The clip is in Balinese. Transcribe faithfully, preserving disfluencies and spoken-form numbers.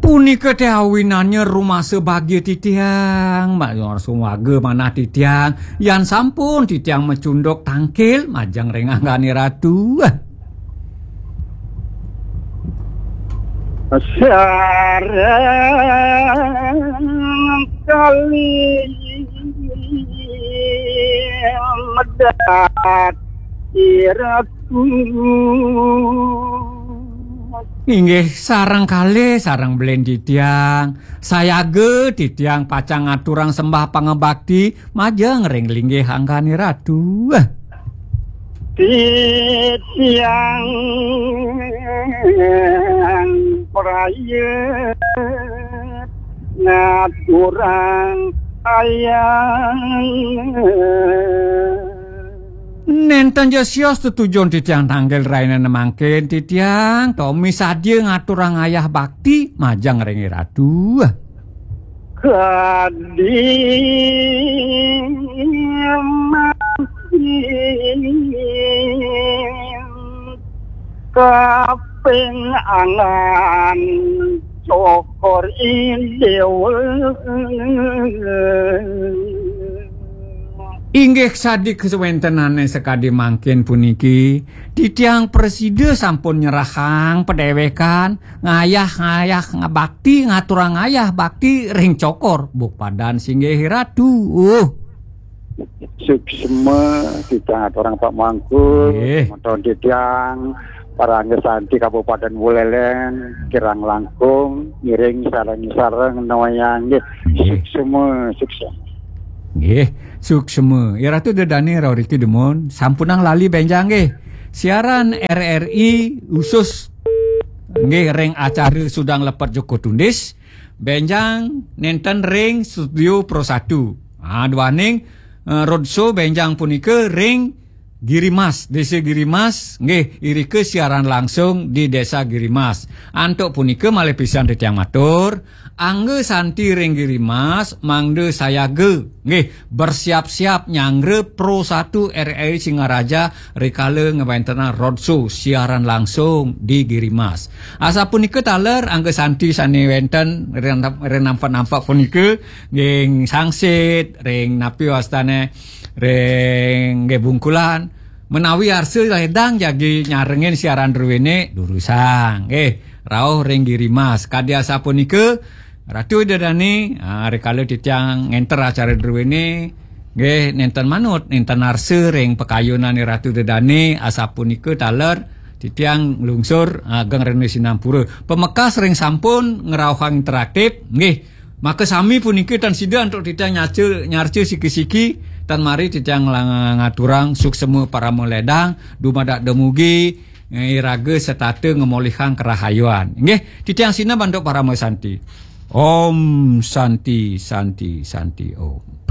Punika teh awinannya rumasa bagia titiang, ma-, sumaga manah titiang, yan sampun titiang macunduk tangkil, majeng ring anggané Ratu. Sareng kalih medhat Ratu. Inggih, sareng kalih, sareng belen titiang. Sayaga titiang pacang ngaturang sembah pangabakti majeng ring linggih anggané Ratu. Titiang prayat ngaturang ayah. Nénten ja sios tetujun titiang tanggil rainana mangkin titiang, tomi sadia ngaturang ayah bakti majeng ring Ratu. Kadi mangkin kaping angan cokor i déwa. Inggih sadi kawéntenané sakadi mangkin puniki, titiang prasida sampun nyerahang padéwékan, ngayah-ngayah ngabakti, ngaturang ayah bakti ring cokor, bupadan singgih Ratu. Uh. Suksma, titiang aturang Pak Mangku, nggih. Semeton titiang, parangga santi Kabupaten Buleleng, kirang langkung, ngiring sareng-sareng nawayang, nggih. Nggih. Suksma, suksma. Nggih, suksma. Ya Ratu Dedane rauh riki dumun, sampunang lali benjang nggih. Siaran R R I khusus nggih ring acara Sudang Lepet Joko Tundis, benjang nenten ring Studio Pro satu. Ah, duaning, eh, roadshow benjang punika ring Girimas, Desa Girimas, nggih, irika siaran langsung di Desa Girimas. Antuk punika malih pisan titiang matur, angga santi ring Girimas, mangda sayaga, nggih, bersiap-siap nyanggra Pro satu R R I Singaraja rikala ngwentenang roadshow siaran langsung di Girimas. Asapunika taler angga santi sane wenten ring, ring nampak-nampak punika, nggih, sangsit, ring napi wastane, ring nggih bungkulan, menawi arsa ledang jagi nyarengin siaran druene, durusang. Nggih, rauh ring Girimas. Kadi asapunika, Ratu Ida Dane, ah, rikala titiang ngenter acara druene, nggih, nenten manut, nenten arsa ring pakayunane Ratu Ida Dane, asapunika taler titiang nglungsur ageng rena sinampura. Pamekas ring sampun ngrauhang interaktif, nggih, maka sami punika tan sida antuk titiang nyaca, nyarca siki-siki, tan mari titiang nglang-, ngaturang suksema parama ledang, dumadak dumugi, eh, iraga setata ngemolihang kerahayuan. Nggih, titiang sineb antuk parama santi. Om Santi, Santi, Santi, Om.